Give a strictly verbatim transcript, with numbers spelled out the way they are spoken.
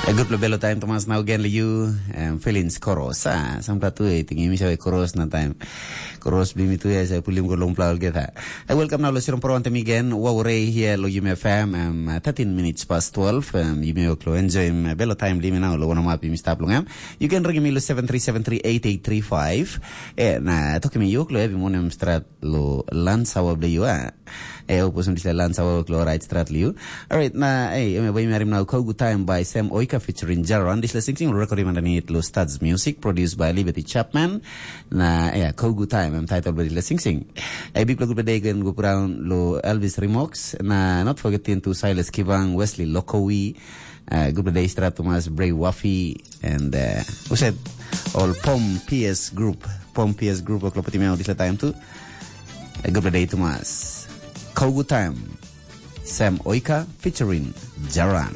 Gutpela belo taim Thomas nau gen liu um, feelings koros. Ah, sampela tu eh, tinggi mi save koros na taim. Koros bimi tu eh, saya pulim ko long plau geta. I welcome now lo sirom pro ante mi gen. Wa ure here lo Yume F M. Um, uh, thirteen minutes past twelve. Um, Yume oklo enjoy um, belo time limi now lo wana mapi mi stap long em. You can ring me lo seven three seven three eight eight three five. Eh, na toki mi yoklo ebi monem strat lo lan sawa ble you ah. Eh, opus un disla lan sawa oklo right strat liu. Alright, na eh, eme bai mi arim now Kogu Time by Sam Oika featuring Jaron. Disla sing sing recording underneath lo Studs Music, produced by Liberty Chapman. Na eh, Kogu Time, em title by disla sing sing. Eh, big good day again go around lo Elvis Remox. Na not forgetting to Silas Kivang, Wesley Lokowi, uh, good day strat Thomas Bray Wafi, and uh, who said all Pom P S group. Pom P S group oklo pati me disla time tu. Uh, good day Thomas. Kogu Time. Sam Oika featuring Jaran.